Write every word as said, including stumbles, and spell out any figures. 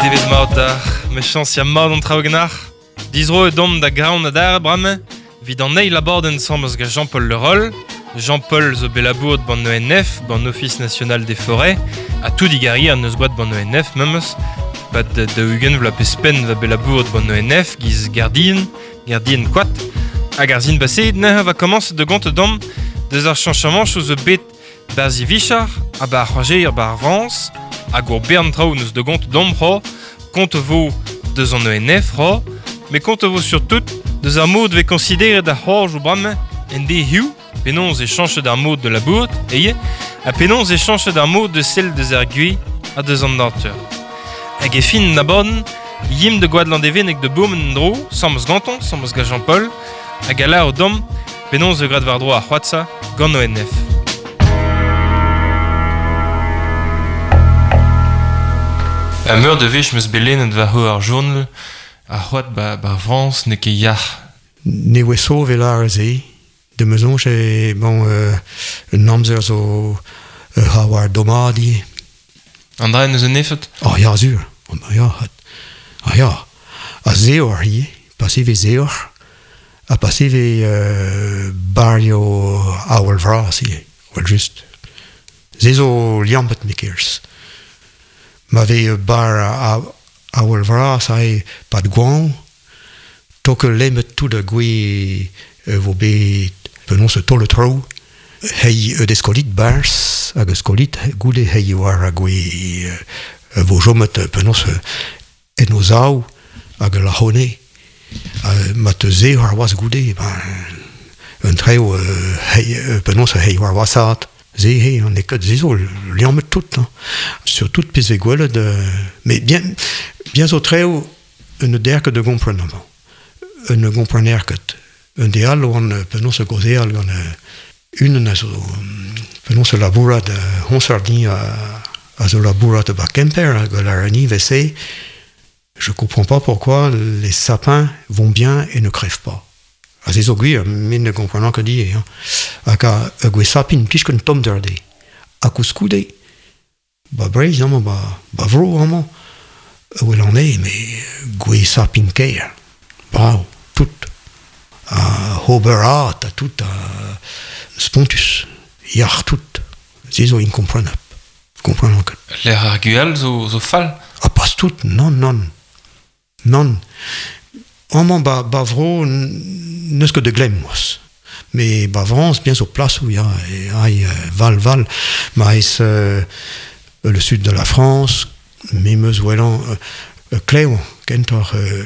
Devez mat d'ar, me chans ya mat an traoù ganar. Dizro e dom da graon adar brame, vid an eil abadenn samez gant Jean-Paul Le Roll. Jean-Paul zo belabour ban O N F, ban Office National des Forêts, a tout digari an eus gwad ban O N F memes, bat da ugent vla pespen va belabour ban O N F, giz gardien, gardien koat, hag ar zin baseet neuze va komañs de gont dom deus ar chañchamant zo bet barzi vichar, a ba ar c'hoajer ba ar Frañs, hag ur bern traoù neus de gont dom c'ho, kont vo deus an O N F c'ho, mais kont vo surtout deus ar mod ve konsideret ar c'horj o brame en de hiu, penaos e chañchet ar mod de la bourt, eye, ha penaos e chañchet ar mod de sel deus ar gui ha deus an natur. Hag e fin na bon, yim de gwad landevenek de bourmen dro, samez ganton, samez gant Jean-Paul, hag a la o dom, penaos e grad war dro ar c'hoatsa gant O N F. A meur de vech meus belenet war ho ar journal, ar c'hoat ba, ba Frañs ne ket yac'h. Ne oa sauve lar ze, de me soñj e, bon, euh, un amzer zo euh, ha war domadi. An dra neus un efet? Ah ya, zur. Oh, ba ya, hat. Ah ya. A zeor hi, pas eve zeor, a pas eve euh, barrio awel vras hi, well just. Ze zo liampet mekers. Ma ve bar a, awel vras ai pad gwan, toke lemmet tout a gwe euh, vo bet penaos tol le trou, hei euh, des skolit bars, hag eus skolit goude hei war a gwe euh, vo jomet penaos en o zaou hag la hone. Euh, ma te ze war oaz goude, ben, un treo euh, hei, euh, penaos hei war oazat. Ze hei, an e ket ze zo liammet tout. Hein. Surtout pez ve gwelet, euh, mais bien, bien zo treo un derket de gompren amañ. Un gomprener ket. Un de all oan penaos gozeal gant unan a zo penaos labourat honsardin a, a zo labourat ba Kemper hag la ni vese. Je comprends pas pourquoi les sapins vont bien et ne crèvent pas. A ze zo gwir, min ne komprenant ket die. Hein. Hag a, a gwe sapin plij ket tom der de. A koulskoude, ba Breizh amañ, ba, ba vro amañ, wel an e, mais gwe sapin ker. Bravo, tout. A hoberat, a tout, a spontus, yac'h tout. Ze zo inkomprenap. Komprenant ket. L'air ar gual zo, zo fall? A pas tout, non, non. Non. Amañ ba, ba vro neus ket de glem, moas. Mais ba Frañs, bien zo plas où ya, e, ai, val, val, ma ez euh, le sud de la France, me meus welan euh, klev, kentoc'h euh,